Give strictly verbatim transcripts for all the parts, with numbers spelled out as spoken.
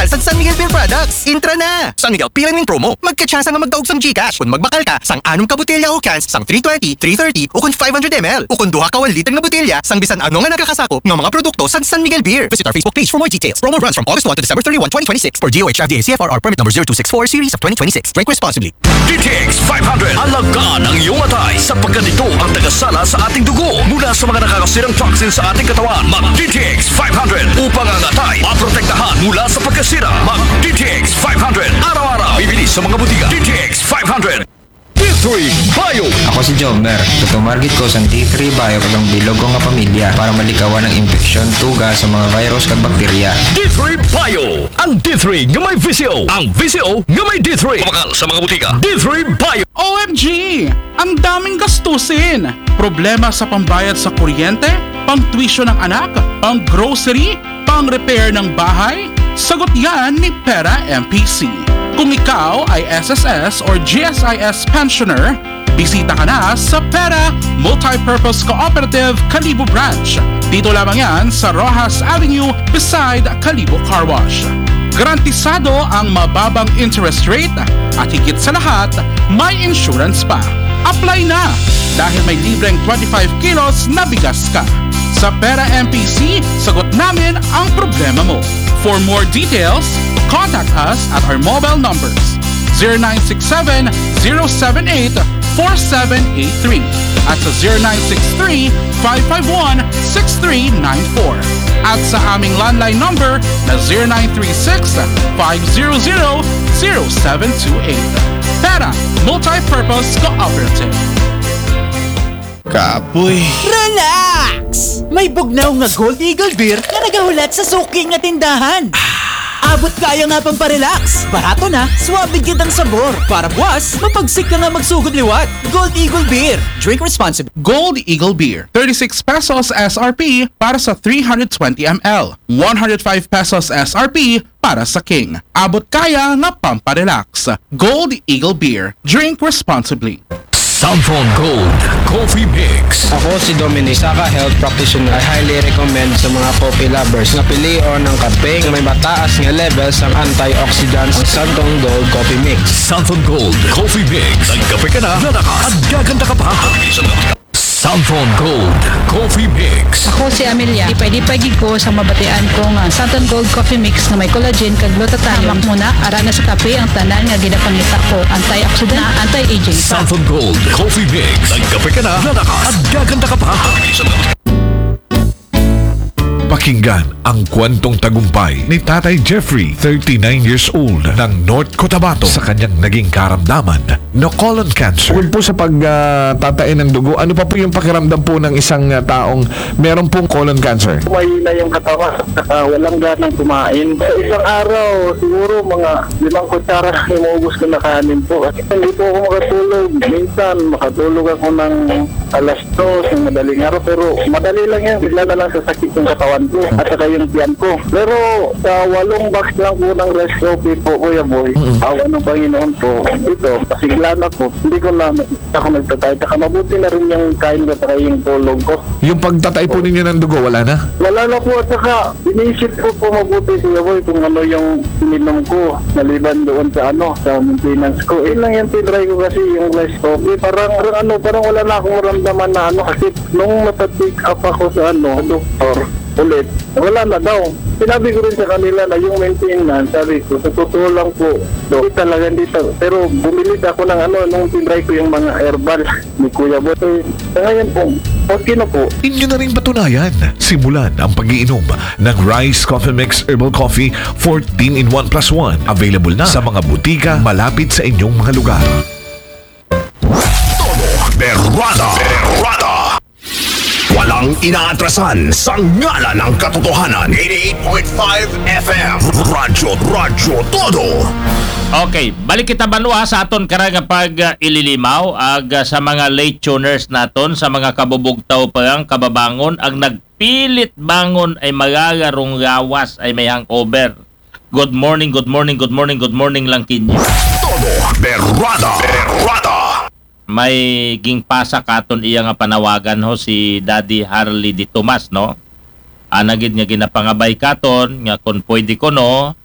San San Miguel Beer Products. Intra na! San Miguel P L N Win Promo. Magkatsansa nga magdaog sang GCash kun magbakal ka sang anom ka botelya o cans sang three twenty, three thirty, o kun five hundred M L, o kun duha ka one liter nga botelya sang bisan ano nga nagakasakop nga mga produkto sang San Miguel Beer. Visit our Facebook page for more details. Promo runs from August one to December thirty-one, twenty twenty-six, for D O H F D A C F R R permit number zero two six four, series of twenty twenty-six. Drink responsibly. D T X five hundred, alagaan ang iyong atay sapagkat ito ang tagasala sa ating dugo mula sa mga nakakasirang toxin sa ating katawan. Mag D T X five hundred upang ang atay maprotektahan mula sa pagkasira. Mag D T X five hundred araw-araw. Bibili sa mga butika. D T X five hundred. D three Bio. Ako si Jomer. Tutumargit ko sa D three Bio kag ang bilog ko nga pamilya para malikawan ang impeksyon, tuga sa mga virus kag bakterya. D three Bio. Ang D three nga may V C O. Ang V C O nga may D three. Mabakal sa mga butika. D three Bio. O M G! Ang daming gastusin! Problema sa pambayad sa kuryente, pang tuition ng anak, pang grocery, pang repair ng bahay? Sagot yan ni Pera M P C. Kung ikaw ay S S S or G S I S pensioner, bisita ka na sa Pera Multipurpose Cooperative Kalibo Branch. Dito lamang yan sa Rojas Avenue beside Kalibo Car Wash. Garantisado ang mababang interest rate at higit sa lahat, may insurance pa. Apply na! Dahil may libreng twenty-five kilos na bigas ka. Sa Pera M P C, sagot namin ang problema mo. For more details, contact us at our mobile numbers zero nine six seven, zero seven eight, four seven eight three at sa zero nine six three, five five one, six three nine four at sa aming landline number na zero nine three six, five zero zero, zero seven two eight. Pera Multipurpose Cooperative. Kapoy. Relax! May bugnaw nga Gold Eagle Beer nga nagahulat sa suki nga tindahan. Abot kaya nga pang parelax. Barato na, suabe gid ang sabor. Para buwas, mapagsik ka nga magsugod liwat. Gold Eagle Beer. Drink responsibly. Gold Eagle Beer, thirty-six pesos S R P para sa three hundred twenty M L, one hundred five pesos S R P para sa King. Abot kaya nga pamparelax. Gold Eagle Beer. Drink responsibly. Santhon Gold Coffee Mix. Ako si Dominic, saka health practitioner. I highly recommend sa mga coffee lovers na pilion ang kape na may mataas nga level sa antioxidants, ang Santhon Gold Coffee Mix. Santhon Gold Coffee Mix. Nagkape ka na, lalakas, at gaganda ka pa. Santhon Gold Coffee Mix. Ako si Amelia. Ipay-ipay gid ko sa mabatian ko nga Santon Gold Coffee Mix nga may collagen kag glutathione. Hamak mo na, ara na sa kape ang tanan nga ginapangita ko. Antioxidant, anti-aging. Santon Gold Coffee Mix. Nagkape ka na, lalakas, at gaganda ka pa. Pakinggan ang kwentong tagumpay ni Tatay Jeffrey, thirty-nine years old, ng North Cotabato sa kanyang naging karamdaman na colon cancer. Bukod po sa pagtatain ng dugo, ano pa po yung pakiramdam po ng isang ah, taong meron pong colon cancer? Mahina yung katawan, saka walang ganang kumain. Sa isang araw, siguro mga limang kutsara lang yung maubos ko na kanin po. Kasi hindi po ako makatulog. Minsan, makatulog ako ng alas dos ng madaling araw, pero madali lang yan. Bigla na lang sasakit yung katawan ko at saka yung tiyan ko. Pero sa walong box lang po ng rice coffee po, Kuya Boy, awa ng Panginoon po, ito, pasigla na po. Hindi ko na ako nagtatay. Saka mabuti na rin yung kain ko saka yung tulog ko. Yung pagtatay po ninyo ng dugo, wala na? Wala na po at saka iniisip ko po mabuti, Kuya Boy, kung ano yung ininom ko maliban doon sa ano, sa maintenance ko. Yun lang yung tinry ko kasi yung rice coffee. Parang, parang ano, parang wala na akong maramdaman na ano kasi nung napa-check up ako sa ano, doktor ulit, wala na daw. Sinabi ko rin sa kanila na yung maintenance, sabi ko, sa totoo lang po, do, talaga hindi ta- pero bumili ako ng ano, nung tinry ko yung mga herbal ni Kuya Boy. Eh, sa ngayon po, okay na po. Inyo na ring patunayan. Simulan ang pag-iinom ng Rice Coffee Mix Herbal Coffee fourteen in one plus one. Available na sa mga butika malapit sa inyong mga lugar. Todo Berrada. Berrada. Walang inaatrasan sa ngalan ng katotohanan. Eighty-eight point five F M. Radyo, Radyo Todo. Okay, balik kita banwa sa aton karang pag uh, ililimaw ag uh, sa mga late tuners naton, sa mga kabubugtaw pa ang kababangon, ang nagpilit bangon ay magagarong gawas ay may hangover. Good morning, good morning, good morning, good morning lang kinyo. Todo Berrada. Berrada. May gingpasa katon iya nga panawagan ho si Daddy Harley de Tomas, no? Ana gid nga ginapangabay katon nga kung pwede ko, no,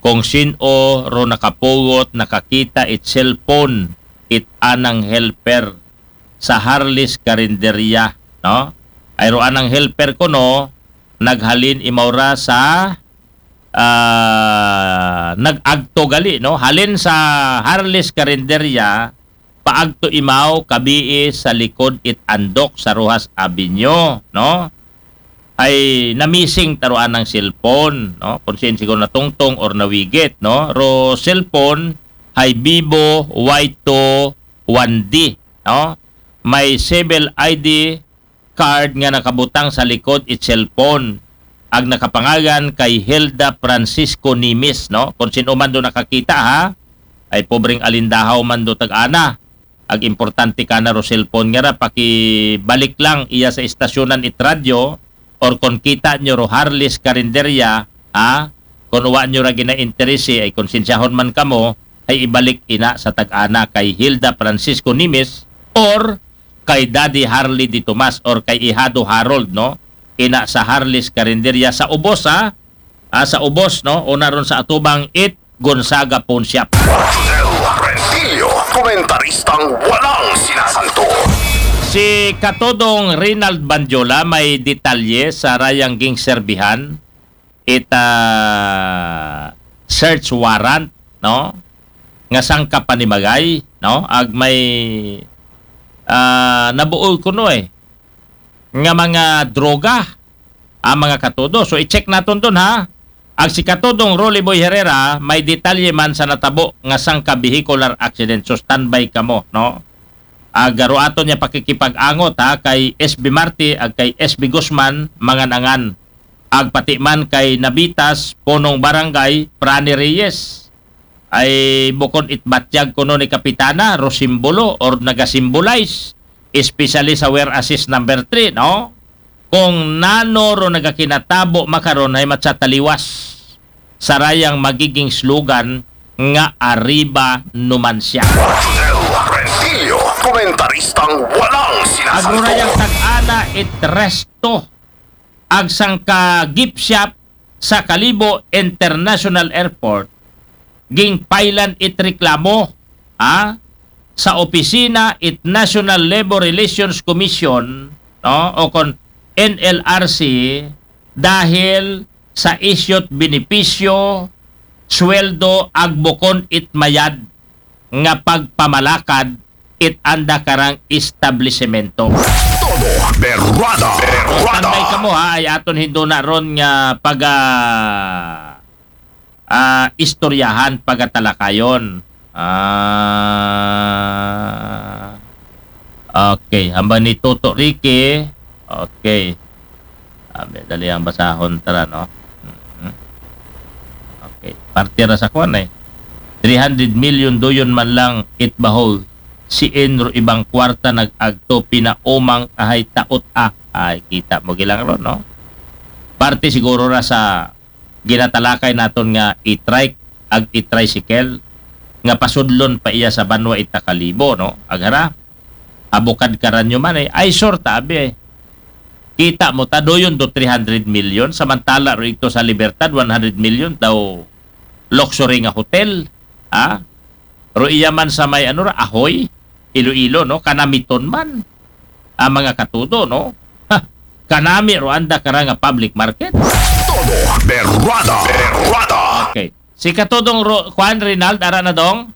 kung sin-o ro nakapugot, nakakita it cellphone it anang helper sa Harley's Carinderia, no? Ay ro anang helper kuno, naghalin imaw ra sa, ah, nag-agto gali, no? Halin sa Harley's Carinderia, paagto imaw kabii sa likod it Andok sa Roxas Avenue, no? Ay namising ta ro anang cellphone, no? Kung sin siguro natungtong or nawigit, no? Ro cellphone hay Vivo Y two one D, no? May civil I D card nga nakabutang sa likod it cellphone. Ag nakapangalan kay Hilda Francisco Nimis, no? Kung sin-o man do nakakita, ha? Ay pobreng alindahaw man do tag-ana. Ag importante kana ro cellphone nga ra, pakibalik lang iya sa istasyonan it radyo, or kung kita nyo ro Harley's Carinderia, ha? Kung wa nyo ra ginainterese, ay konsensyahon man kamo, ay ibalik ina sa tag-ana kay Hilda Francisco Nimis or kay Daddy Harley Di Tomas or kay Ihado Harold, no? Ina sa Harley's Carinderia sa ubos, ha? Ah, sa ubos, no? Una ron sa atubang it Gonzaga Pawn Shop. Rodel Rentillo, komentaristang walang sinasanto. Si Katodong Rinald Bandyola may detalye sa rayang ginserbihan ita search warrant, no? Nga sangka panimagay, no? Ag may, ah, nabuol kuno, eh, nga mga droga, ah, mga katudo. So, i-check naton dun, ha. Ag si Katodong Rolly Boy Herrera, may detalye man sa natabo nga sangka vehicular accident. So, standby kamo, no? Ag aro aton niya pakikipag-angot, ha, kay S B Marte ag kay S B Guzman, mangan-angan. Ag pati man kay Nabitas, punong barangay, Prani Reyes. Ay bukon it batyag kuno ni Kapitana, ro simbolo or nagasimbolize, especially sa Wear Assist number three, no? Kung nano ro nagakinatabo makaron ay matsataliwas sa rayang magiging slogan nga Arriba Numancia. Rodel Rentillo, komentaristang walang sinasanto. Ag ro rayang tag-ana it resto ag sangka gift shop sa Kalibo International Airport, gingpailan it reklamo, ha, sa opisina it National Labor Relations Commission, no, o kon N L R C, dahil sa isyut benepisyo, sweldo, ag bukon it mayad nga pagpamalakad it anda karang establisemento. Todo berwada. Berwada. Standby kamo, ha, ay aton hinduna ron nga paga, ah, istoryahan, pagatalakayon. Ah, okay, hambal ni Toto Ricky. Okay. Abi, dali ang basahon, tara, no? Mhm. Okay. Parte ra sa kwan, eh. Three hundred million doyon man lang it bahol. Siin ro ibang kwarta nag-agto pinaumang ahay taot, ah. Ay, kita mo gilang ron, no? Parte siguro ra sa ginatalakay naton nga e-trike ag e-tricycle nga pasudlon pa iya sa banwa ita Kalibo, no? Aghara, abukad karanyo man, eh. Ay, sure, tabi, eh. Kita mo, ta doyon do three hundred million, samantala ro ito sa Libertad, one hundred million daw luxury nga hotel. Ha? Ro iya man sa may, ano ra, Ahoy, Iloilo, no? Kanamiton man. Ang mga katudo, no? Ha? Kanami ro anda kara nga public market. Todo berwada. Berwada. Okay. Si Katudong Ro-, Juan Rinald, ara na dong.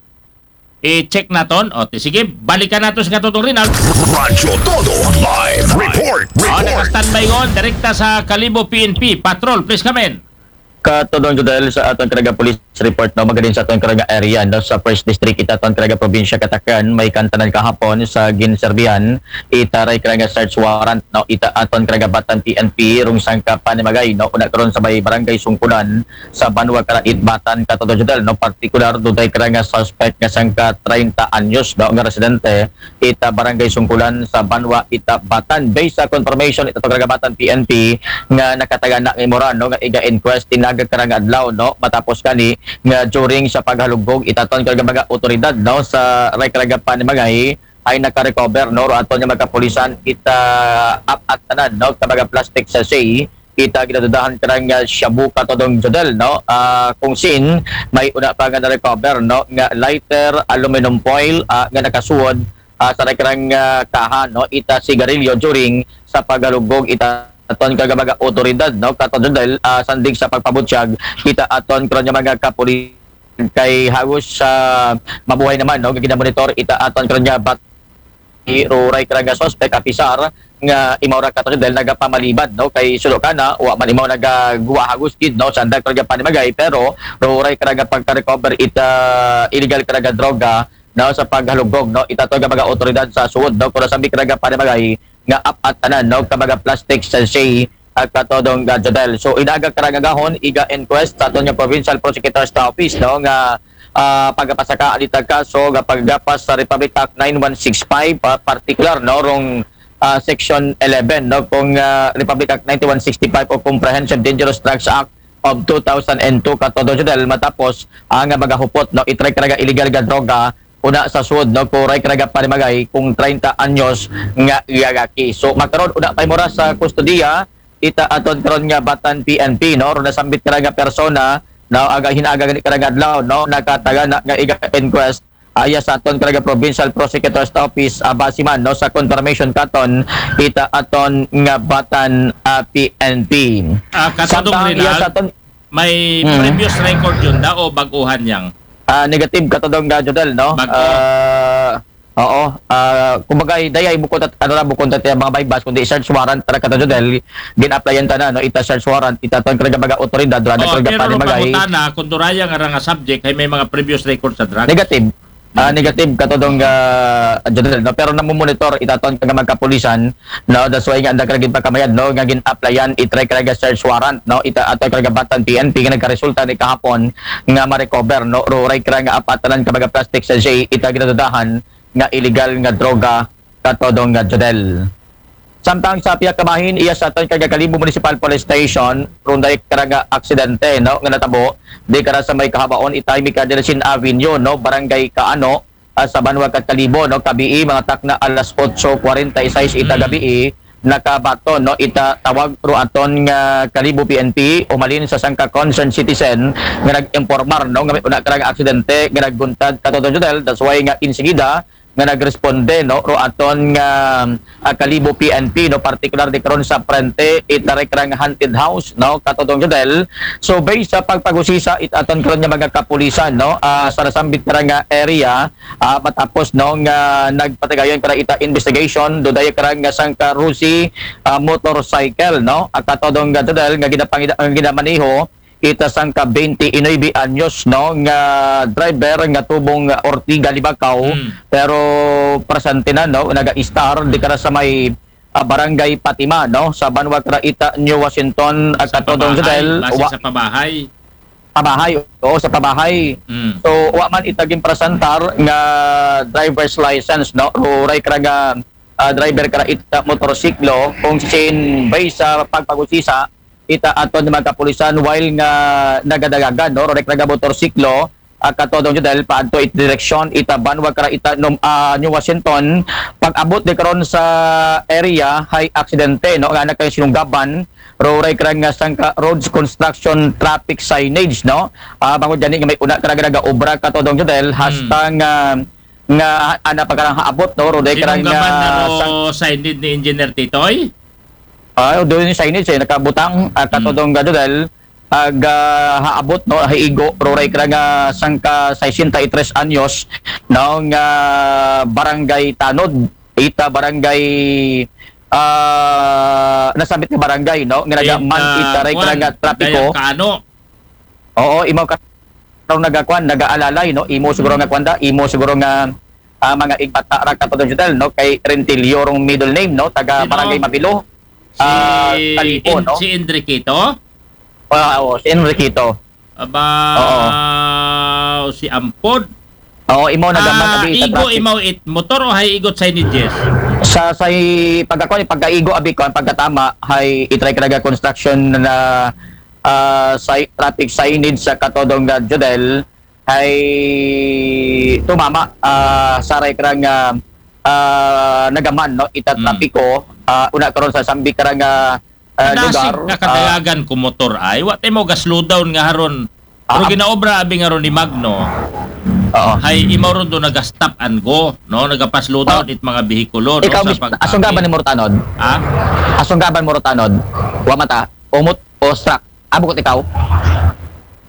I-check naton. O, ti-, sige, balikan nato si Katudong Rinald. Radyo Todo Live Report. O, Report. Naka-standby on. Direkta sa Kalibo P N P. Patrol, please come in. Katudong Judel, sa aton karaga police report, no, magadin sa aton karaga area, no, sa First District, ita aton karaga probinsya Katakan, may kantanan kahapon sa ginserbihan, ita ray karaga search warrant, no, ita aton karaga Batan P N P, rung sangka panimagay, no, una karon sa may barangay Sungkulan, sa Banwa Karaid, Batan, Katudong Judel, no, partikular, duday karaga suspect nga sangka treinta anyos, no, nga residente, ita barangay Sungkulan sa Banwa ita Batan. Based sa confirmation ita to karaga Batan P N P nga nakatagana nga imura, no, nga iga-inquest tinaga karaga adlaw, no, matapos kani nga during sa paghalugbog ita ton karaga mga otoridad, no, sa ray karaga panimagay ay nakarecover, no, ro aton nga mga kapulisan ita ap-, at tanan, no, ka mga plastic sachet Ita ginadudahan karang, ah, shabu, katodong Jodel, no? Ah, kung sin, may una pa nga na-recover, no? Nga lighter, aluminum foil, ah, nga nakasuod, ah, sa karang, ah, kaha, no? Ita sigarilyo during sa paghalugog ita aton karang mga otoridad, no? Katodong Jodel, ah, sandig sa pagpabutyag, ita aton karang mga kapulis kay halos sa mabuhay naman, no? Nga ginamonitor ita aton karang bat-, ruray karang suspect, apisar nga imaw ra, katodong Jodel, nagapamaliban, no? Kay sulo kana, wa man imaw nagaguwa halos gid, no? Sanda karang panimagay, pero ruray karang pagka-recover ita illegal karang droga, no? Sa paghalugog, no? Ita aton karang mga otoridad sa suod, no? Kung nasambi karang panimagay nga ap-atanan, no? Ka mga plastic sachet, ah, katodong, ah, Jodel. So, inaga karang agahon, iga inquest sa aton nga Provincial Prosecutor's Office, no? Nga, ah, pagapasaka alita kaso nga paggapas sa Republic Act nine one six five, ah, particular, no? Rong, ah, Section eleven, no? Kung, ah, Republic Act nine one six five o Comprehensive Dangerous Drugs Act of two thousand two, katodong Jodel, matapos, ah, nga magahupot, no? Itry karang illegal nga droga, una sa suod, no? Kung ruray karang panimagay, kung treinta anyos nga lalaki. So, makaron, una pa mura sa kustodiya, ita aton karon nga Batan P N P, no? Ro nasambit karang persona, no? Aga, hinaga gani karang adlaw, no? Nakatagan na nga iga inquest, aya sa aton karang Provincial Prosecutor's Office, ah, base man, no? Sa confirmation katon, ita aton nga Batan, ah, P N P. Ah, katodong Samtang iya Rinal, sa aton, may Mm. previous record yun da o baguhan yang? ah, negative, katodong, ah, Jodel, no? Bago. Ah, oo. Ah, kumbaga, dayay bukod at ano ra, bukod at mga baybas, kundi search warrant ra, katodong Jodel, gin-applyan ta na, no? Ita search warrant, ita aton karang mga otoridad, ra na Oh, karang pero panimagay. Pangutana, kung duraya nga ra nga subject, ay may mga previous record sa drugs. Negative. Ah, Negative. Negative, katodong, ah, Jodel, no? Pero namumonitor ita aton karang mga kapulisan, no? That's why nga anda karang ginpakamayad, no? Nga gin-applyan, itry karang search warrant, no? Ita aton karang Batan P N P nga nagkaresulta ni kahapon nga ma-recover, no? Ruray karang ap-atanan ka mga plastic sachet, ita ginadudahan nga illegal nga droga, katodong, ah, Jodel. Samtang sa pihak ka bahin, iya sa aton karang Kalibo Municipal Police Station, ro day karang aksidente, no, nga natabo di kara sa may kahabaon ita Miguel Delacin Avenue, no, Barangay Kaano, ah, sa banwa ka Kalibo, no, kabii, mga takna alas otso kwarenta y seis ita Mm. gabii, nakabaton, no, ita tawag ro aton nga Kalibo P N P, umalin sa sangka concerned citizen nga nag-impormar, no, nga may una karang aksidente nga nagbuntag, katodong Jodel. That's why nga insigida nga nagresponde, no, ro aton nga, ah, Kalibo P N P, no, partikular di karon sa Prente, ita ray karang haunted house, no, katodong Jodel. So, based sa pagpagusisa it aton karon nga mga kapulisan, no, ah, sa nasambit karang nga area, ah, matapos, no, nga nagpatigayon karang ita investigation, ro day karang nga sangka Rusi, ah, motorcycle, no, ah, katodong, ah, Jodel, nga ginapangida-, nga ginamaniho ita sangka twenty-nine anyos, no, nga driver nga tubong Ortiga, Libacao, Hmm. pero presente na, no, naga-istar di kara sa may, ah, Barangay Fatima, no, sa banwa kara ita New Washington, ah, katodong Jodel, Base wa-, sa pabahay. pabahay, oo, sa pabahay. Mm. So, wa man ita ginpresentar nga driver's license, no, ruray karang, ah, driver karang ita motorsiklo, kung sin based sa pagpagusisa ita aton mga kapulisan while nga nagadagagan, no, ruray karang motorsiklo, ah, katodong Jodel, paadto it direksyon ita banwa karang ita num-, ah, New Washington. Pag-abot di karon sa area, hay aksidente, no, nga nagkasinunggaban ruray karang nga sangka roads construction traffic signage, no. Ah, bangod gani nga may una karang nagaobra, katodong Jodel, Hmm. hasta nga, nga ana pa karang haabot, no, ruray karang Sinunggaban na nga ro sang- signage ni Engineer Titoy? Ah, doon yung signage, eh, nakabutang, ah, katodong, mm, Jodel, ag, ah, haabot, no, haigo, ruray karang nga sangka sesenta y tres anyos, no, nga barangay Tanod, ita barangay, ah, nasambit nga barangay, no, nga nagaman, In, ah, ita ray kuan, karang nga trapiko. Dayang Kaano. Oo, imaw ka raw nagakuan, nagaalalay, no? Imo siguro nga kuan da, imo siguro nga, ah, mga igbata ra, katodong Jodel, no? Kay Rentilio rong middle name, no? Taga Sino? Barangay Mabilo. Si, Ah, Kalibo, En-, no? Si Enriquito? Ah, oo, si Enriquito. Aba, Oo. Si Ampod? Oo, imo nagaman Ah, abi sa igo traffic. Imaw it motor o hay igot signages? Sa, sa pagkakuan, pagkaigo abi ko, ang pagkatama hay itry karang nga construction na, ah, si-, traffic signage sa katodong nga Jodel hay tumama, ah, sa ray karang nga, ah, nagaman, no, ita Mm. trapiko, ah, una karon sa sambi karang nga, ah, Kadasig lugar. Ka kadayagan ko motor ay, wa tay mo ga-slow down nga haron. Pero Ah, ginaobra abi nga ron ni Magno. Oo. Hay imaw ron do naga-stop and go, no? Naga-slow down Oh. it mga behikulo, no? Ikaw, Sa mis- pag- asong gaban ni Murtanod? Ha? Asong gaban Murtanod? Wa mata, umot o struck? Abot ikaw?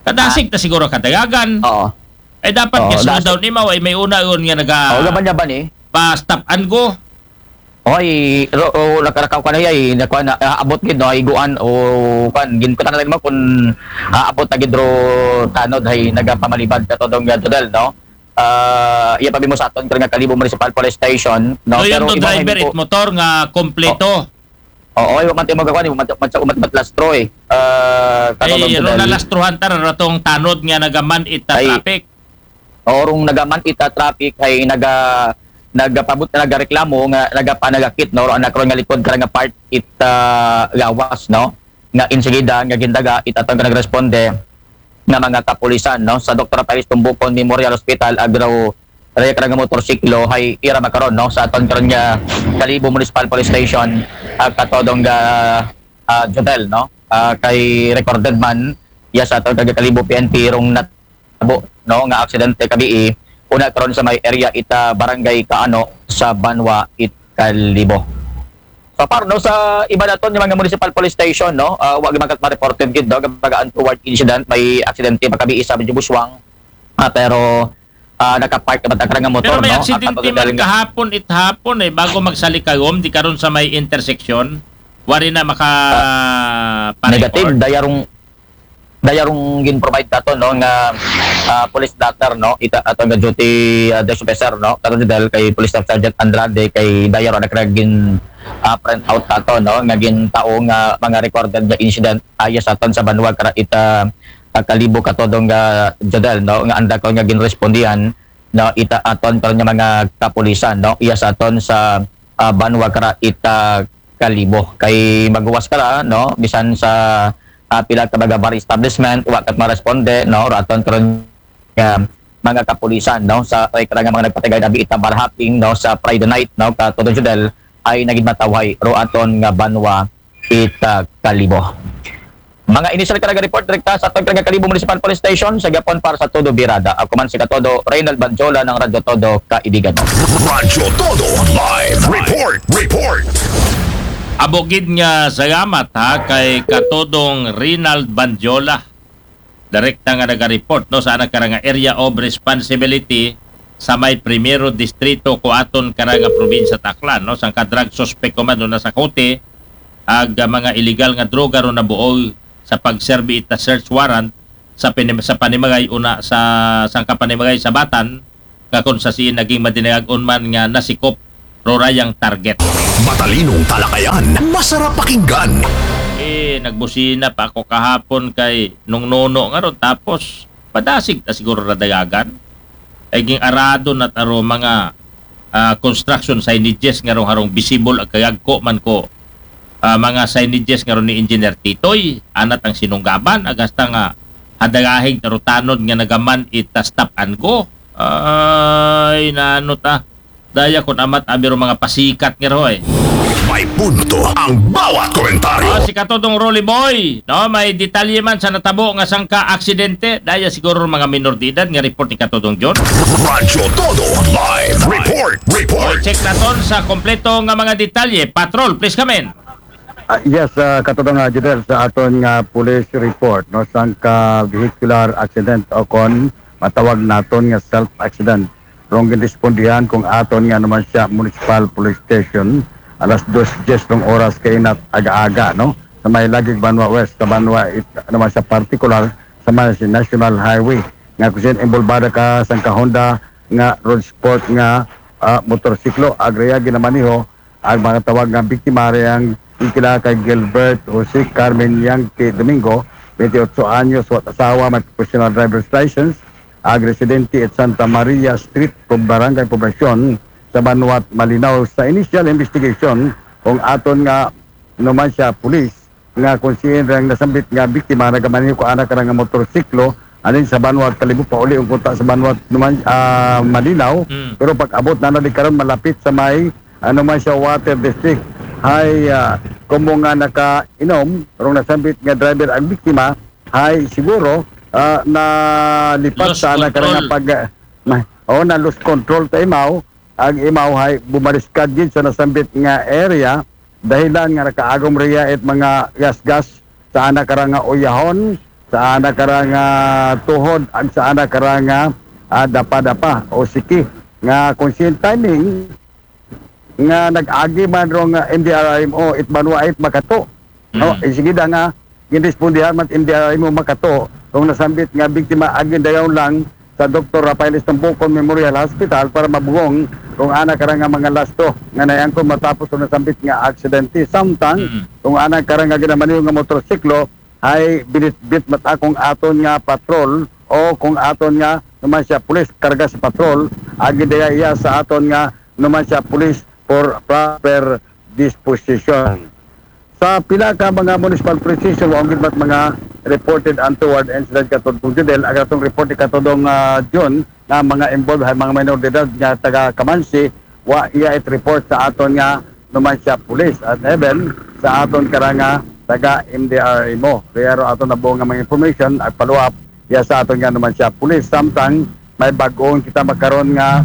Kadasig ta siguro kadayagan. Oo. Ay dapat Oo, ga-slow dasig. down imaw ay may una yun nga naga Oo, gaban niya ba ni? pa-stop and go. Oy, ro, o, nakarakaw ka na yay, nakuha na, ah, abot gid, no, higuan, o, kan, gin, kita na lang mo kung, ah, abot na gid ro tanod, hay, nagapamalibad ka to dong, ah, Jodel, no? Ah, iya pa mo sa aton, kaya nga Kalibo Municipal Police Station, no? So yun Pero to iba driver mo it motor nga kompleto. Oo, ay, wa man tayo magkakuha, wa man, wa man, wa man lastro, eh. Ah, Ay, katulad ro Jodel. nalastruhan ta ratong tanod nga nagaman ita Ay. Traffic. Orong nagaman ita traffic hay naga nagapabot na nagareklamo nga nagapanagakit, no, ro anak ron nga likod kara nga part ita gawas, no, nga insigida nga gindaga ita tong nagresponde nga mga kapulisan, no, sa Dr. Rafael Tumbukon Memorial Hospital, agraw raya kara nga motorsiklo hay ira makaron, no, sa aton karon nga Kalibo Municipal Police Station, ah, katodong ga ah, Jodel, no, ah, kay recorded man ya sa aton kag Kalibo P N P rong nat abo, no, nga aksidente kabii, una karon sa may area ita barangay Kaano sa Banwa it Kalibo. So far, no, sa iba naton nga mga municipal police station, no, ah, wa gyud man kat ma-reported gid, no, nga mga untoward incident, may aksidente pa kabii sa medyo Buswang, ah, pero ah, nakapark na ba ta kara nga motor, Pero may no? aksidente At man kahapon it hapon eh, bago magsalikagom, di karon sa may intersection, wari na maka Negative, dayarong dayarong gin-provide nato, no, nga ah, police blotter, no, ita ato nga duty ah, desk officer, no, karon dahil kay Police Staff Sergeant Andrade kay dayaro na kara gin ah, print out nato, no, nga gintao nga mga recorded nga incident aya sa aton sa Banwa kara ita ah, Kalibo katodong nga Jodel, no, nga anda ko nga ginrespondihan, no, ita aton karon nga mga kapulisan, no, iya sa aton sa ah, Banwa kara ita Kalibo kay maguwas kara, no, bisan sa ah, pila ka mga bar establishment wa kat maresponde, no, raton karon nga mga kapulisan, no, sa ay kara nga mga nagpatigay na ita bar hopping, no, sa Friday night, no, katodong Jodel ay naging matawhay ro aton nga Banwa ita Kalibo. Mga initial kara nga report direkta sa aton kara nga Kalibo Municipal Police Station sa gapon para sa Todo Birada. Ako man si Katodo Reynald Banjola ng Radyo Todo, kaibigan. Radyo Todo Live Report. Report. Abo gid nga salamat ha kay Katodong Rinald Banjola. Direkta nga naga-report, no, sa anak kara nga area of responsibility sa may primero distrito ko aton kara nga probinsya Aklan, no, sangka drug suspect ko man do na sa Cote ag mga illegal nga droga ro nabuol sa pagserbi ita search warrant sa pinim- sa panimagay una sa sangka panimagay sa Batan nga kung sa siin naging madinagag-on man nga nasikop ro rayang target. Matalinong talakayan, masarap pakinggan. Eh, nagbusina pa ako kahapon kay nung nono nga ron. Tapos, padasig ta siguro radayagan. Ay ging arado na taro mga ah, construction signages nga rong harong visible ag kayagko man ko ah, mga signages nga ron ni Engineer Titoy. Anat ang sinunggaban, ag hasta nga hadagahig tarutanod nga nagaman ita stop and go. Ay, nano ta. Daya kun amat abiro mga pasikat nga roy. May punto ang bawat komentaryo. Oh, si Katodong Rolly Boy, no, may detalye man sa natabo nga sangka aksidente. Daya siguro mga minor de edad nga report ni Katodong John. Radyo Todo Live Report. Report. Check naton sa kompleto nga mga detalye. Patrol, please come in. Ah, yes, uh, katulong nga Judel sa aton nga police report, no, sangka vehicular accident o kon matawag naton nga self accident. Rong ginrespondihan kung aton nga naman siya Municipal Police Station alas dos diyes rong oras kainat aga-aga, no, sa may Lagig Banwa West sa Banwa it, naman siya partikular sa may National Highway nga kusin involvada ka sangka Honda nga road sport nga ah, motorsiklo agraya ginamaniho ang mga tawag nga biktima riyang ikila kay Gilbert Jose Carmen Yangke Domingo, twenty-eight anyos, wat asawa, may professional driver's license, ag residente at Santa Maria Street, Pub- Barangay Poblacion, sa Banwat Malinaw. Sa initial investigation, kung aton nga naman siya pulis, nga kung siin rang nasambit nga biktima nagamaniho ko anak nga motorsiklo anin sa Banwat Kalibo pauli ang kunta sa Banwat naman ah, Malinaw, Mm. Pero pag abot na nalikaron malapit sa may ano man siya, Water District, Hay, ah, komo nga nakainom, rong nasambit nga driver ang biktima, hay siguro, ah, nalipat Lost sa ana karang control. pag, ah, ma-, o, na-lose control ta imaw, ang imaw hay bumaliskad gid sa nasambit nga area, dahilan nga nakaagom riya it mga gasgas sa ana karang nga uyahon, sa ana karang nga tuhod, ag sa ana karang nga, ah, dapa-dapa o siki. Nga kung sin timing, nga nag-agi man rong, ah, M D R R M O, it banwa it makato. No, Mm. Sige da nga, ginrespondihan man M D R R M O makato, rong nasambit nga biktima, agi dayon lang sa Doktor Rafael Estambucon Memorial Hospital para mabugong rong ana karang nga mga lasto nga naiangkon matapos rong nasambit nga aksidente. Samtang, Mm. rong ana karang nga ginamaniho nga motorsiklo, ay binitbit mat akong aton nga patrol o kung aton nga numan siya pulis karga sa patrol, agi daya iya sa aton nga numan siya pulis for proper disposition. Sa pila ka mga municipal police station, wa gid mat mga reported untoward incident katong Judel, ang atong report katong, ah, June, nga mga involved hay mga minor de edad nga taga Kamansi, wa iya it report sa aton nga numan siya pulis at even sa aton karang nga taga M D R M O. Kaya ro aton nabuo nga mga information ag follow up iya sa aton nga numan siya pulis. Samtang may bag-ong kita makaron nga,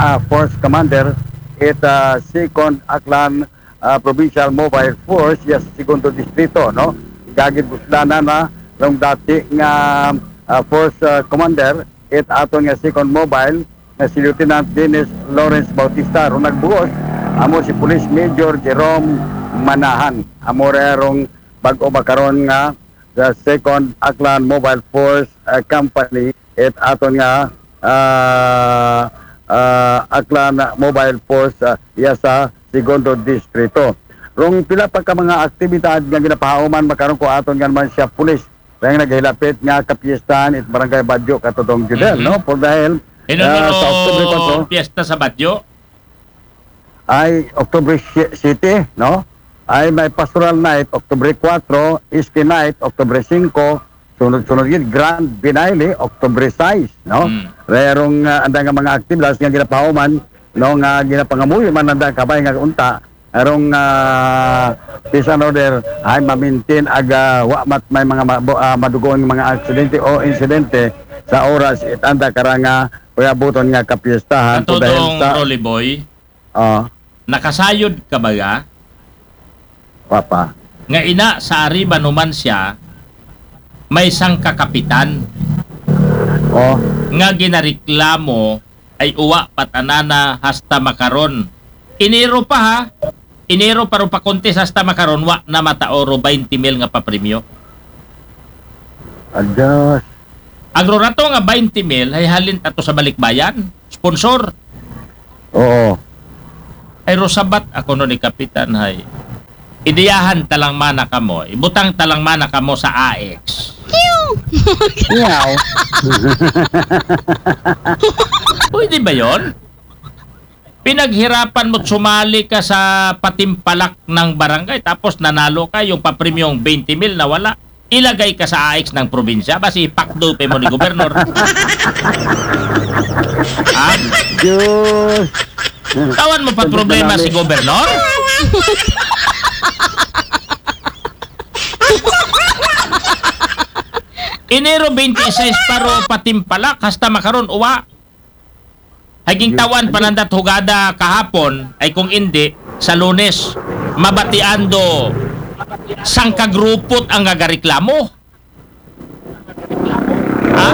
ah, force commander it, ah, Second Aklan, ah, Provincial Mobile Force iya sa Segundo Distrito, no? Gagid buslanan na rong dati nga, ah, force, ah, commander it aton nga Second Mobile nga si Lieutenant Dennis Lawrence Bautista. Rong nagbuos, amo si Police Major Jerome Manahan. Amo ra rong bag-o makaron nga the Second Aklan Mobile Force, uh, Company, it aton nga, uh, uh, Aklan Mobile Force, uh, iya sa Segundo Distrito. Rong pila pa ka mga aktibidad nga ginapahuman makaron ko aton nga numan siya pulis. Kaya naghilapit nga kapiestahan it Barangay Badyo katong Judel, Mhm. no? Por dahil, Hino ah, na sa October ro four, piyesta sa Badyo? Ay October siete, no? Ay may Pastoral Night, October four, Iski Night, October five, sunod-sunod gid, Grand Finale, October six, no? Mm. Rerong, ah, anda nga mga aktibidades nga ginapahuman, no, nga ginapangamuyo man anda kabay nga unta, arong, ah, peace and order, ay mamintin aga, wa mat may mga ma-, bo-, ah, madugon nga mga aksidente o insidente sa oras it anda karang nga uyabuton nga kapiestahan. Katodong dahil sa Rolly Boy, ah, nakasayod ka ba ga? Papa. Nga ina sa Arriba Numancia, may isang kakapitan, oh, nga ginareklamo ay uwa patanana hasta makaron. Enero pa ha. Enero pa ro pa-contest hasta makaron, wa na matao ro twenty mil nga papremyo. Adas. Ang ro rato nga twenty mil, ay halin tato sa balikbayan. Sponsor. Oo. Ay ro sabat ako no ni Kapitan, hay. Ideyahan talang mana kamo. Ibutang talang mana kamo sa A X. Yaw. Pwede ba yon? Pinaghirapan mo't sumali ka sa patimpalak ng barangay, tapos nanalo ka, yung papremyong twenty mil nawala. Ilagay ka sa A X ng probinsya, basi ipakdo pa mo ni gobernador. Ha? Diyos. Tawan mo pa problema si gobernador? Enero twenty-six pa ro patimpalak, hasta makaron uwa. Ay gintawan pa nanda hugada kahapon, ay kung indi, sa Lunes, mabatian do sangka grupo't ang gagareklamo. Ha?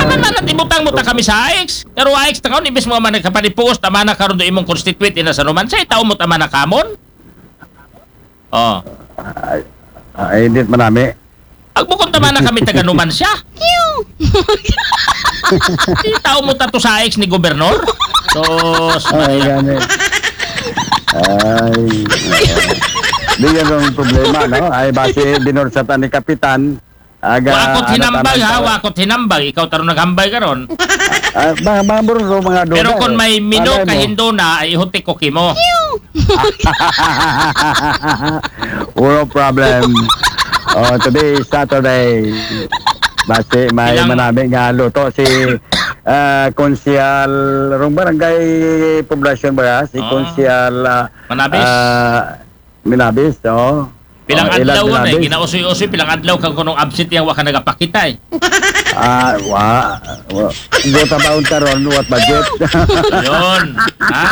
Ano na, ibutang mo ta kami sa A X? Pero A X ta karon, imbis mo man nagkapanipuos, tama na karon do imong constituent, ina sa Numancia, tao mo tama na kamon? Oh. Ay, ay, hindi manami. Agbukon ta man na kami taga Numancia. Di tao mo tato sa ex ni gobernador. Sus, ay, Maria. Gani. Ay, di yan ang problema, no? Ay, basi binursatan ni Kapitan. Aga, wakot ano, hinambag, ha? Wakot hinambag. Ikaw taro naghambay karon. Ah, mga, mga burro, mga dula. Pero kung may mino, kahindo na, ay ihutik ko kimo. Wala problem. Oh, today is Saturday. Basi may manami nga luto si, ah, Konsehal, rong barangay poblasyon ba? Si Konsehal, ah, Manabis? Ah, Minabis, oo. Pilang Oh, Elad adlaw na eh, Minabis. Ginausoy-usoy, pilang adlaw kang kunong absent yang wa ka nagapakita eh. Ah, wa. Wa. Buta baon karon, what budget? Yun. Ha?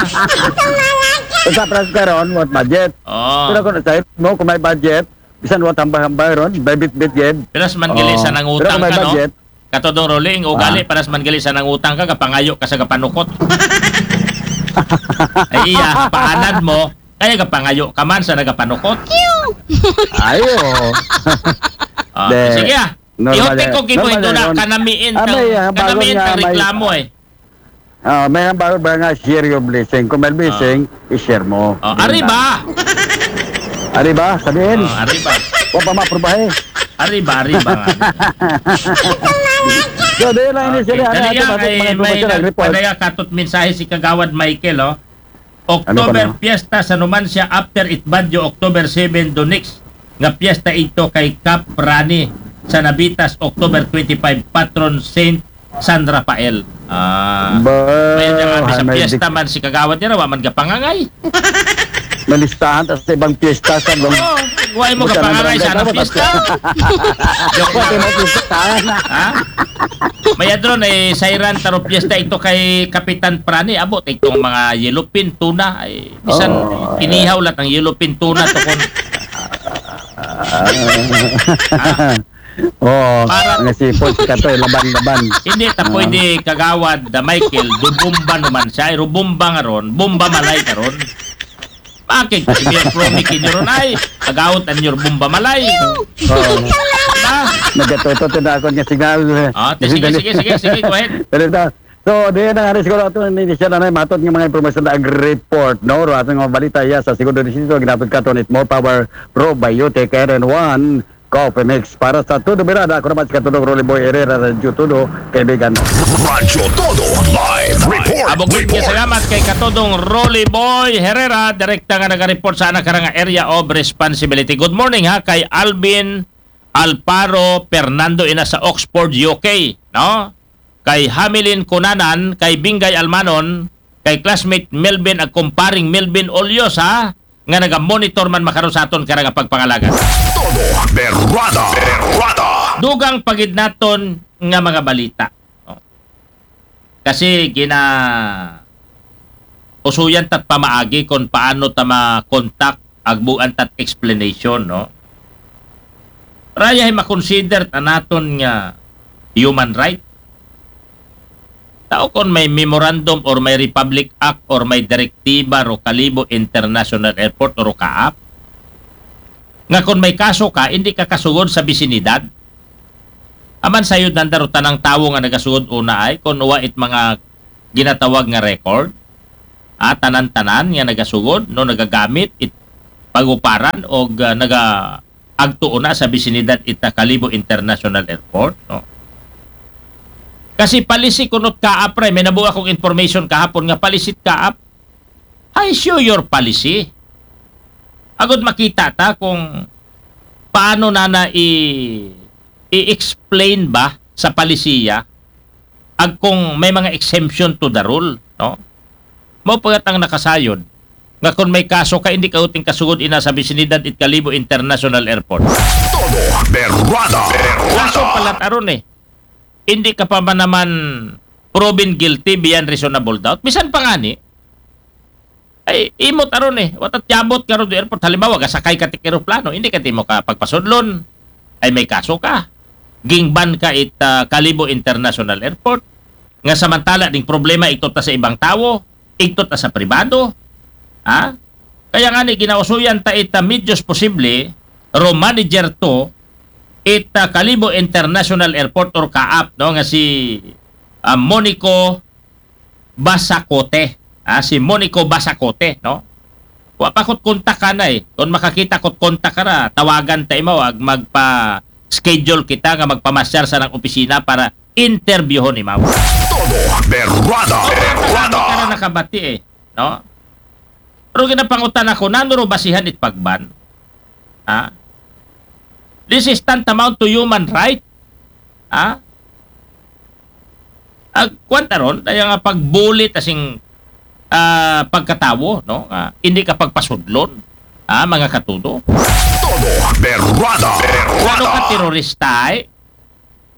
Sa pras karon, what budget? Oh. Pero kung sa mo, kung may budget, bisan wa tambay-hambay ron, may bit-bit gid. Piras man gali Oh. sa nangutang Pero kung may ka, no? budget, Katodong Rolly, ang ugali, Ah. Piras man gali sa nangutang ka, gapangayo ka sa gapanukot. Ay iya, paanad mo, kaya gapangayo ka man sa nagapanukot. ayo. Ah, De, sige ah. normal Ihote yan. ko kimo Normal ito na yan. kanamiin Ah, kang, may, ah, bago kanamiin nga kang may reklamo eh. Ah, may hambal ba nga share your blessing? Kung may blessing, i-share mo. Oh, ari ba? Ari ba? Sabihin. Oh, ari ba? Wa pa maprobahe. Ari ba, ari ba nga? So, di lang ini Okay, sila. Ano, dali ano, nga, ano, ay, ano, may ano, nag- report? May nagkatut mensahe si Kagawad Michael, oh. Ano pa October na? Fiesta sa Numancia after it Baguio, October seven do next nga fiesta ito kay Kap Rani sa Nabitas, October twenty-five, patron Saint San Rafael. Ah. Ba, May nagkatut sa may fiesta man si Kagawad nira, wa man gapangangay. Malistahan tas sa ibang piyesta sa bang Oh, why mo Buta ng gapangangay sa barangay anong dapat. fiesta? Joke Pwede lang. mo pistahan. Ha? May adron ay sayran taro fiesta ito kay Kapitan Prani. Abo, itong mga yellowfin tuna. Ay, bisan Oh. inihaw lang ang yellowfin tuna to kun Oh, Para- nga sipon si Katoy, laban-laban. Hindi ta Ah. pwede, Kagawad da Michael, dubumba naman siya. Ay, rubumba nga ron, bumba malay ka ron. Bakit? Kasi may promi kinyo ron ay, agawat ang your bumba malay. Oh. Diba? Nagatuto to na ako nga signal. Ah, sige, sige, sige, sige, go ahead. Pero ito, so, di na nga rin siguro ito, hindi siya na matod ng mga impormasyon na ag-report, no? Ro, atong mga balita iya sa segundo distrito, ginatod ka to, it's more power, probiotic, R N one, Coffee Mix. Para sa Todo Mirada, ako naman si Katulong Rolly Boy Herrera, Radyo Todo, kaibigan. Radyo Todo Live Report. Abog Report. Salamat kay Katodong Rolly Boy Herrera, direkta nga naga-report sa anak karang area of responsibility. Good morning ha, kay Alvin Alparo Fernando ina sa Oxford, U K, no? Kay Hamilin Kunanan, kay Bingay Almanon, kay classmate Melvin ag kumparing Melvin Oliosa, nga naga-monitor man makaron sa aton karang pagpangalaga. Todo Berrada. Berrada. Dugang pagid naton nga mga balita. No? Kasi gina usuyan tat pamaagi kung paano ta ma-contact, agbuan tat explanation, no? Rayahay makonsider ta naton nga human right. Tao kon may memorandum or may Republic Act or may direktiba ro Kalibo International Airport or kaap, nga kon may kaso ka, hindi ka kasugod sa bisinidad. Aman sayod nanda ro tanang tawo nga nagasugod una ay, kon wa it mga ginatawag nga record, ah, tanan-tanan nga nagasugod, no, nagagamit it paguparan o, ah, naga agtuo na sa bisinidad ita Kalibo International Airport, no? Kasi policy kunot kaap, pre, may nabuo akong information kahapon nga policy kaap. I show your policy. Agud makita ta kung paano na na i- i-explain ba sa palisiya ag kung may mga exemption to the rule, no? Mao pa gat ang nakasayod nga kung may kaso ka, hindi ka uting kasugod ina sa bisinidad it Kalibo International Airport. Todo Berrada. Kaso Berrada. Pala aron eh, hindi ka pa man naman proven guilty beyond reasonable doubt. Bisan pa ngani, ay, imot aron eh. Watat yabot ka ron do airport. Halimbawa, gasakay ka tik eroplano, hindi ka timo ka pagpasudlon. Ay, may kaso ka. Gingban ka it ah, Kalibo International Airport. Nga samantala ding problema, iktot ta sa ibang tawo, iktot ta sa pribado. Ha? Kaya nga ni, ginausuyan ta ita medios posible, ro manager to, ita Kalibo International Airport or kaap, no, nga si ah, Monico Basacote. Ah, si Monico Basacote, no? Wa pa kot kontak ka na eh. Kung makakita kot kontak ka na, tawagan ta imaw, ag magpa-schedule kita nga magpamasyar sa nang opisina para interviewon imaw. Todo Berrada. Berrada. Ka na nakabati eh, no? Pero ginapangutan ako, nano ro basihan it pagban? Ha? This is tantamount to human right. Ha? Ag, kwan ta ron, daya nga pagbuli ta sing ah, pagkatawo, no? Nga hindi ka pagpasudlon. Ah, mga katudo. Todo Berwada. Ano ka Berwada. terorista ay?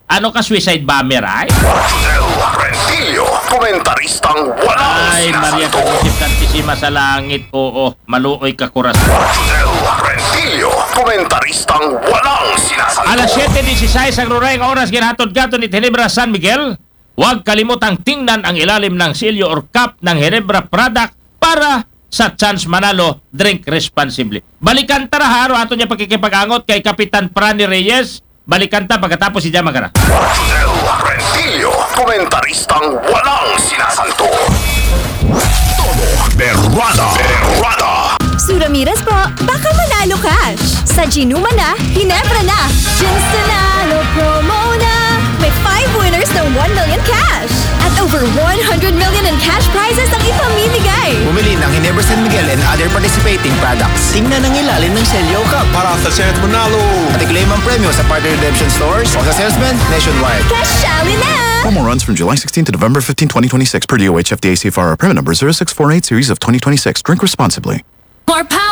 Ano ka suicide bomber ay? Josel Rentillo, komentaristang walang Ay, Maria sinasanto. Pagkisip Santisima sa langit, oo, maluoy ka korason. Josel Rentillo, komentaristang walang sinasanto. Alas siyete disisais ang ruray nga oras, ginhatod kato ni Ginebra San Miguel. Huwag kalimutang tingnan ang ilalim ng selyo or cap ng Ginebra product para sa chance manalo, drink responsibly. Balikan ta ra ha, aron ato niya pakikipag-angot kay Kapitan Prani Reyes. Balikan ta pagkatapos si Jama Gara. Josel Rentillo, komentaristang walang sinasanto. Todo Berwada. Berwada. Sue Ramirez po, baka manalo cash. Sa Ginuma na, Ginebra na. Gins Nanalo promo na. May five winners ng one million cash. At over one hundred million in cash prizes ang ipamimigay. Bumili ng Ginebra San Miguel and other participating products. Tingnan ang ilalim ng selyo cap para sa chance manalo. At i-claim ang premyo sa partner redemption stores o sa salesman nationwide. Kasali na! Promo runs from July sixteenth to November fifteenth, twenty twenty-six, per D O H F D A C F R, permit number zero six four eight series of twenty twenty-six. Drink responsibly. More power.